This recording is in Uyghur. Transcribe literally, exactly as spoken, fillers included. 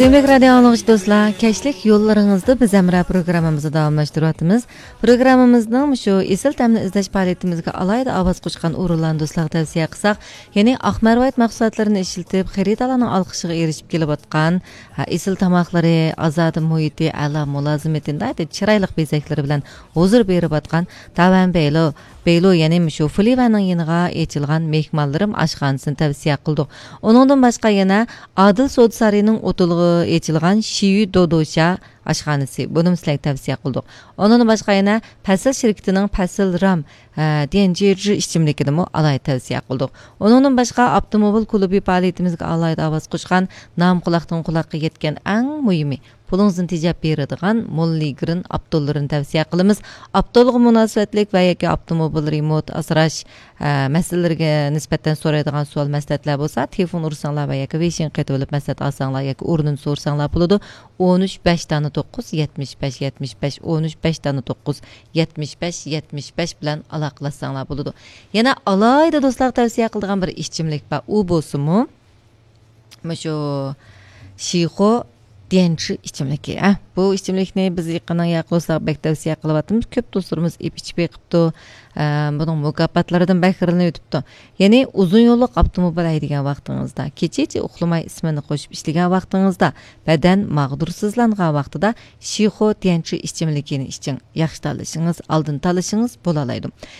سۆيۈملۈك رادىئو ئاڭلىغۇچى دوستلار، كەچلىك يوللىرىڭىزدا بىز ھەمراھ پروگراممىمىزنى داۋاملاشتۇرۇۋاتىمىز. پروگراممىمىزنىڭ مۇشۇ ئېسىل تەمنى ئىزدەش پائالىيىتىمىزگە ئالاھىدە ئاۋاز قوشقان ئورۇنلارنى دوستلارغا تەۋسىيە قىلساق، يەنى ئاق مەرۋايىت مەھسۇلاتلىرىنى ئىشلىتىپ، خېرىدارلارنىڭ ئالقىشىغا ئېرىشىپ كېلىۋاتقان، ھە، ئېسىل تاماقلىرى، ئازادە مۇھىتى، ئەلا مۇلازىمىتى، ناھايىتى چىرايلىق بېزەكلىرى بىلەن ھۇزۇر بېرىۋاتقان تاۋەن بەيلو، بەيلو، يەنى مۇشۇ فۇلىۋەننىڭ يېنىغا ئېچىلغان مېھمانلىرىم ئاشخانىسىنى تەۋسىيە قىلدۇق. ئۇنىڭدىن باشقا يەنە ئادىل سودا سارىيىنىڭ ئوتتۇرىغا ئېچىلغان شىيۈ دودوشا ئاشخانىسى، بۇنىمۇ سىلەرگە تەۋسىيە قىلدۇق. ئۇنىڭدىن باشقا يەنە پەسىل شىركىتىنىڭ پەسىل رام، ھە، ديەنجىجى ئىچىملىكىنىمۇ ئالاھىدە تەۋسىيە قىلدۇق. ئۇنىڭدىن باشقا، ئاپتوموبىل كۇلۇبى پائالىيىتىمىزگە ئالاھىدە ئاۋاز قوشقان، نام قۇلاقتىن قۇلاققا يەتكەن ئەڭ مۇھىمى، پۇلىڭىزنى تېجەپ بېرىدىغان موللىگرىن ئاپتوللىرىنى تەۋسىيە قىلىمىز. ئاپتولغا مۇناسىۋەتلىك ۋە ياكى ئاپتوموبىل رېمونت، ئاسراش، ئە، مەسىلىلىرىگە نىسبەتەن سورايدىغان سوئال مەسلىھەتلەر بولسا، تېلېفون ئۇرساڭلار ۋە ياكى ۋېيشىنغا قېتىۋېلىپ مەسلىھەت ئالساڭلار ياكى ئورنىنى سورىساڭلار بولىدۇ. ئون ئۈچ بەش دانە توققۇز، يەتمىش بەش يەتمىش بەش، ئون ئۈچ بەش دانە توققۇز، يەتمىش بەش يەتمىش بەش بىلەن ئالاقىلاشساڭلار بولىدۇ. يەنە ئالاھىدە دوستلارغا تەۋسىيە قىلىدىغان بىر ئىچىملىك بار. ئۇ بولسىمۇ، مۇشۇ شىخو ديەنچى ئىچىملىكى، ھە. بۇ ئىچىملىكنى بىز يېقىننىڭ ياقى دوستلارغا بەك تەۋسىيە قىلىۋاتىمىز. كۆپ دوستلىرىمىز ئېپ ئىچىپ بېقىپتۇ. ئە، بۇنىڭ مۇكاپاتلىرىدىن بەھرىلىنىۋېتىپتۇ. يەنى ئۇزۇن يوللۇق ئاپتوموبىل ھەيدىگەن ۋاقتىڭىزدا، كېچىچە ئۇخلىماي ئىسمىنى قوشۇپ ئىشلىگەن ۋاقتىڭىزدا، بەدەن ماغدۇرسىزلانغان ۋاقتىدا شىخو ديەنچى ئىچىملىكىنى ئىچىڭ. ياخشى تاللىشىڭىز، ئالدىن تاللىشىڭىز بولالايدۇ.